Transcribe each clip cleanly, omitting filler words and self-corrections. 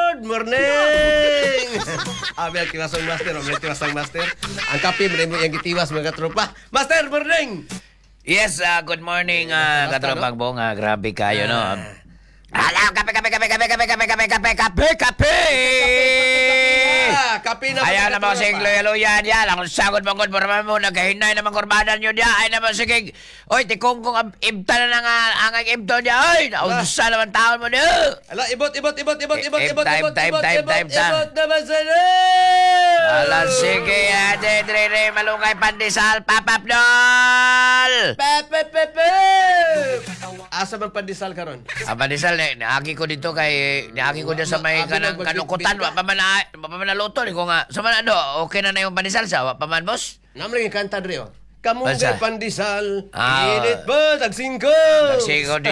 Good morning! Abi ang tiwasong master, ang tiwasang master. Ang kape mo yung gitiwas, mga katropa. Master, morning! Yes, good morning, Basta, katropang Bong. Grabe kayo, no? Alam, kape, kape, kape, kape, kape, kape, kape, kape, kape, kape! Ah, kape na, Ayaw mga naman katropa. sige, luya-luya diya. Lang sagod mangod mo naman mo, nagkahinay naman kurbanan nyo diya. Ay naman sige, oy, tikong kong ibta na nga ang ibto diya. Oy, naunsa naman taon mo niya. Ala, ibot, ibot, ibot, ibot, ibot, ibot, Ibta, ibot, ibta, ibot, ibta, ibot, ibta, ibta. ibot naman sa Ala, sige, ate, dre, dre, malungay pandesal, papap dol! Pe, pe, pe, pe! Asa man pandesal karon? Ang pandesal, niagi ko dito kay, niagi ko dito sa may Abi kanang nagbagbit- kanukutan, wa pa man na, wa pa man naluto, ni ko nga, sa man ano, okay na na yung pandesal sa, wa pa man, boss? Namang yung kanta dre, oh. Kamunggay Basta. pandesal, Ah. init ba, tagsingko? Tagsigaw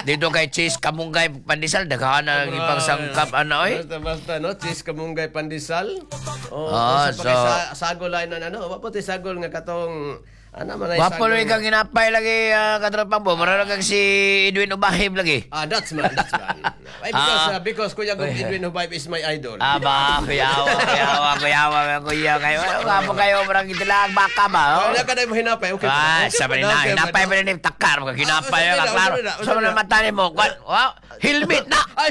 dito kay Cheese Kamunggay pandesal, daghan na ipagsangkap ano oy. Basta, basta, no? Cheese kamunggay pandesal. Oh, Ah, sa so, sagol ay na ano, wa po ti sagol nga katong ano man ay Wapo sagol. lagi kang ginapay lagi, katropang bo. Mura lang kang si Edwin Ubahib lagi. Ah, that's man, that's man. Ay, because, Ah. because Kuya Gong Edwin Hubayb is my idol. Aba, kuyawa, kuyawa, kuyawa, kuya kayo. Ano nga po kayo, murang itilag baka ba? Oh? Wala ka na mo hinapay, okay. Ah, Okay sabi pa na, okay pa hinapay na. pa rin yung takar, mga hinapay, Ah, ah, klaro. usap na, usap Sa mga na. mata ni mo, kwan, wow, helmet na! Ay!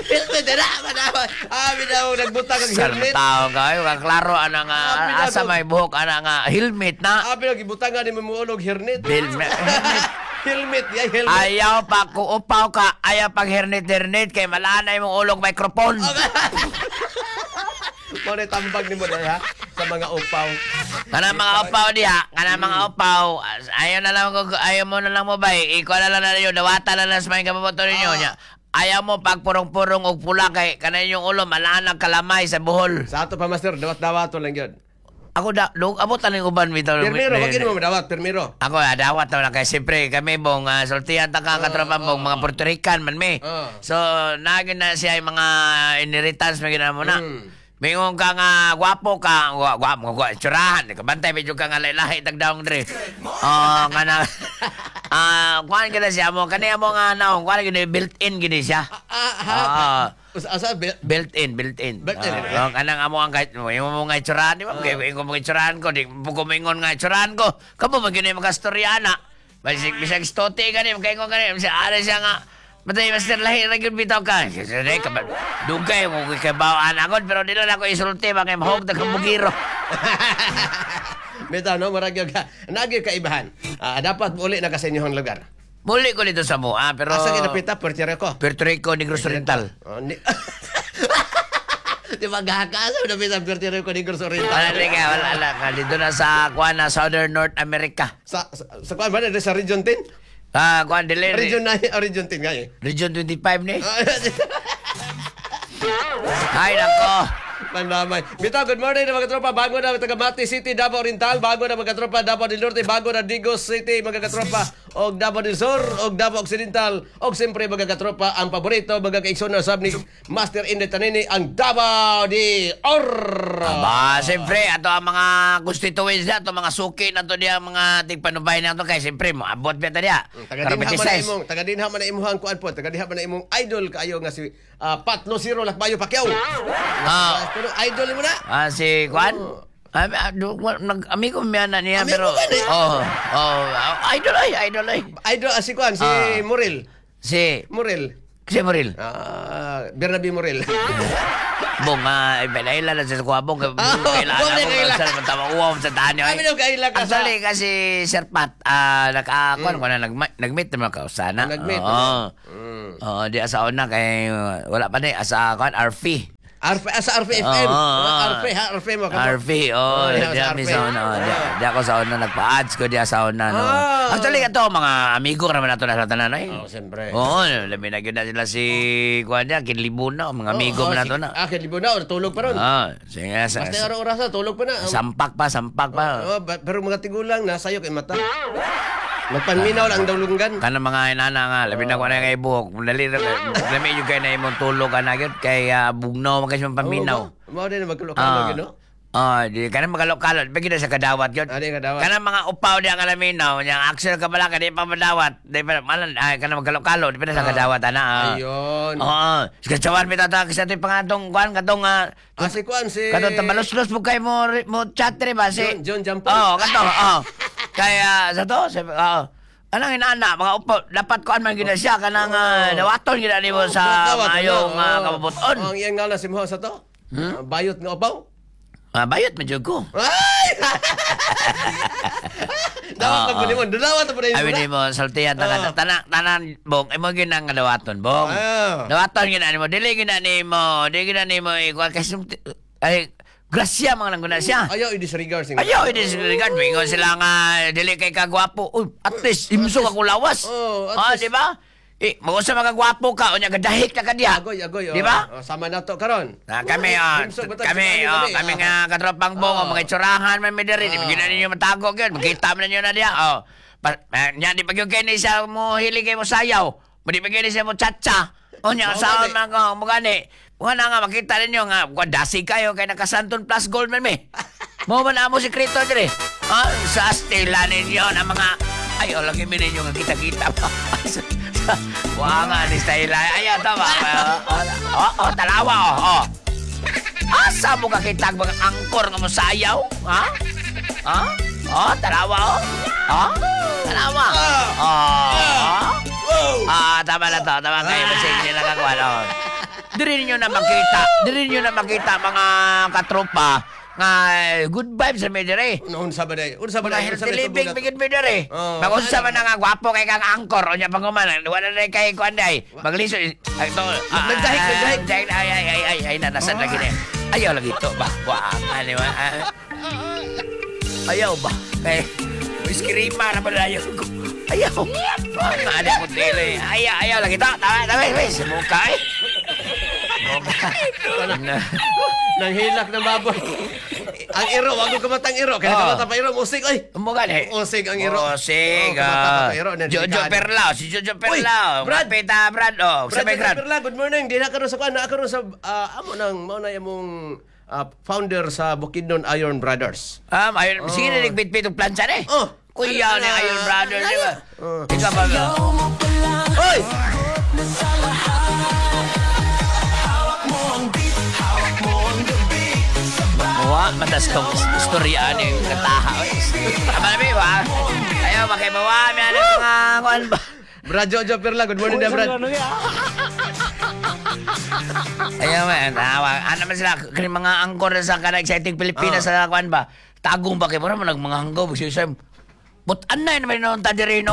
Helmet na, manawa. Ah, binaw, nagbutang ang Sa helmet. tao kayo, klaro, ana nga, Ah, binaw. asa may buhok, ana nga, helmet na. Ah, binaw, gibutang nga ni mamuulog helmet. Helmet. Helmet, yay, helmet. Ayaw pa kuupaw ka, ayaw pag hernet-hernet, kay malanay mong ulog microphone. Mo na tambag ni mo na, ha? Sa mga upaw. Kana mga upaw diha, kana mga upaw, ayaw na lang ayaw mo na lang mo bay, ikaw na lang na ninyo, dawata na lang sa mga kababoto ninyo Ah. nya. Ayaw mo pagpurong-purong og pula kay kana inyong ulo malanag kalamay sa buhol. Sa ato pa, master, dawat-dawato lang yun. Ako da, dug abot na ning uban bitaw. Pirmiro, wag mo dawat, pirmiro. Ako dawat na kay siyempre kami bong sultihan ta ka katropa bong mga Puerto Rican man mi. Ah. So nagin na siya yung mga inheritance may mo na. Mingon ka nga gwapo ka, gwapo, gwapo, tsurahan, kabantay medyo ka nga lahi tagdaong dre. Oh, nga na. Ah, kuan kita siya mo kani mo nga naong kuan gini built-in gini siya. Ah, ha? Ah. Asa, Built-in, built-in. Built-in, eh. Ah, oh, kanang amo ang kahit mo mo nga itsurahan, di ba? Kay ingon mo itsurahan ko, di mo kumingon nga itsurahan ko. Kamo man gyud makastorya na. Bisag bisag stote gani, makaingon gani, bisag ara siya nga. Matay master lahi ra gyud bitaw ka. Sige ka ba? Dugay mo kay bawaan ako pero di lang ako isulti ba kay mahog ta bugiro. Bitaw, no? Marag yung ka. Nagyo kaibahan. Ah, dapat uli na ka sa inyong lugar. Muli ko dito sa mua pero Asa kinapita? Puerto Rico. Puerto Rico, Negros Oriental. Oh, ni. Di ba gaka? Asa napita Puerto Rico, Negros Oriental? Wala na ka, wala na ka. Dito na sa kuan na Southern North America. Sa kuan ba na? Sa Region 10? Ah, kuan dili. Region 9, oh, Region 10 nga eh. Region 25 ni. Ay, nako. Pandamay. Bitaw, good morning na mga katropa. Bago na taga Mati City, Davao Oriental. Bago na mga katropa, Davao del Norte. Bago na Digos City, mga katropa. Og Davao del Sur, og Davao Occidental. Og siyempre, mga katropa, ang paborito, mga kaigsoon na sab ni Master Inday Tanini, ang Davao de Oro. Aba, siyempre, ato ang mga constituents na, ato mga suki na to diya, mga tigpanubay na to, kay siyempre, moabot pa ta diya. Taga dinha man na imong, taga dinha man na imong kuan po, taga dinha man na imong idol kaayo nga si Pat Lucero Lakbayo Pacquiao. Ah. Pero idol mo na. Ah, si Juan? Ah, ah, amigo mi ana niya, Amigo pero ka ni? Oh, ah, idol ay, idol ay. Idol si kuan si Ah. Muril. Si Muril. si Muril. Ah, Bernabe Muril. Bong, ipaila lang sa kuha, bong. Ah, Kailangan bong, ako kaila. sa tama uwaw sa tahan niyo. Kami nung kaila ka sa- Actually, kasi Sir Pat, nag, kuan ko na, nag-meet naman ka sana. Nag-meet, Oo. Oo, di asa una kay, wala pa ni, asa kuan, RF. RF, sa RF FM. Oo. RF, ha, RF mo. RF, oh, Oh, di sa kami RF. sa una. Oh, di ako sa una, nagpa-ads ko di sa una. No. Ah. Actually, ito, mga amigo naman nato na sa tanan, eh. Oh, siyempre. Oo, labi na gyud na sila si kuan niya, kinlibuna, mga amigo man nato na. Ah, kilibo na, or tulog pa ron. Ah, sige, sa, Basta araw orasa, tulog pa na. sampak pa, sampak pa. Oh, pero mga tigulang, nasa iyo kay mata. Magpanminaw lang ang dawlunggan. Kana mga inana nga, labi na ko na kay buhok. Dali ra lami jud kay na imong tulog ana gyud kay bugnaw man kay siyang paminaw. Mao din magkulok-kulok, no? Oh, di kanang magalok-kalot, bigyan na sa kadawat yun. Ah, di kadawat. Kanang mga upaw di ang alaminaw, yang Axel Kabalaka, di pa madawat. Di pa, malan, ay, kanang magalok-kalot, di pa na sa kadawat, ana. Ah. Ayun. Oo. Sa kachawan, pitata, kasi ito yung pangatong, kuan, katong, Ah, si Kuan, si katong tabalos-los mo kayo mo, mo chat rin ba? Si John, John Jampol. Oo, kato, oo. Kaya, sa to, sa, oo. Anang inaana, mga upaw, dapat kuan man gina siya, kanang dawaton gina nimo sa Dawat, maayong ano? Oo. kabubuton. Ang iyang ngalan si Moho sa to? Ah, bayot nga upaw? Ah, bayot man jud ko. Ay! Dawat na po nimo. Dawat na po nimo. Abi nimo saltihan tanan tanan tanan bong imo gyud ang dawaton bong. Ah. Dawaton gyud nimo, dili gyud nimo, dili gyud nimo ikuan kasi ay grasya mga nangguna siya. Ayaw i-disregard sing. Ayaw i-disregard mingon sila nga dili kay kagwapo. Uy, at least imsog ako lawas. Oh, at Ah, least. di ba? Eh, mag-usa makagwapo ka unya gadahik na ka diha. Agoy, agoy. Di ba? Oh, sama na to karon. Na kami ah, Himsog ba ta? kami Kami, oh, kami nga katropang bong, mga itsurahan man mi diri, di gyud na ninyo matago gyud, makita man ninyo na diha. Oh. Pa, nya di pa gyud kay ni siya mo hilig kay mo sayaw. Di pa gyud ni siya mo tsatsa. Unya Mao sa gani. man ko mo gani. Mga na nga makita ninyo nga kuan dasi kayo kay nakasanton plus gold man mi. Mo man amo sekreto diri. Ah, sa stila ninyo na mga ay, oh, lagi mi ninyo nga kita-kita pa. Wa nga ni style. Ayaw, tama. Oh, oh, talawa, oh, oh. Asa mo kakita ang mga angkor nga mosayaw? Ha? Ha? Oh, talawa, oh. Ha? Talawa. Oh. Ah, tama na to. Tama kayo. Masig nila kagawa, oh. Diri ninyo na makita. Diri ninyo na makita mga katropa nga good vibes sa may diri. Unsa ba day? Unsa ba Mga day? Unsa healthy ba day living tubog na to? bigid mi diri. Oo. Magunsa man na nga gwapo kay kang angkor unya panguman. Wala na kay kuan day. Magliso ay to. Nagdahik, nagdahik. Nagdahik. Ay ay ay ay ay nanasan lagi ni. Ayaw lagi to ba. Wa ani ba. Ayaw ba? Kay iskrima na pala ayaw ko. Ayaw. Nga ada ko tele. Ayaw, ayaw lagi to. Tama, tama, tama. Sa mukha eh. Mukha. Nanghilak ng baboy. Ang iro, wag ko kamatang iro. Kaya Oo. kamata pa iro, musig oy. Mo gani. Usig ang iro. Usig. Oo, kumata pa Ah. pa iro. Jojo Delikado. Perlao. Si Jojo Perlao. Brad! Pita, Brad. Oh, Brad, sabay, Brad. Perla, good morning. Di na karon sa kuan, naa karon sa amo nang mao na imong founder sa Bukidnon Iron Brothers. Ayun, sige na nagbitbit og plancha ni. Oh. Kuya ni Iron Brother, di ba? Oh. Ikaw ba? Oy! Wa, matas kong istorya ni yung kataha. Tama na, ba? Ayaw, makibawa. May ano mga kuan ba? Brad Jojo Perla, good morning na Brad. Ayaw, man. Tawa. Ano man sila? Kani mga angkor sa kanang exciting Pilipinas sa kuan ba? Tagong ba kay mura man mga hanggaw. But anay naman noon ta diri no.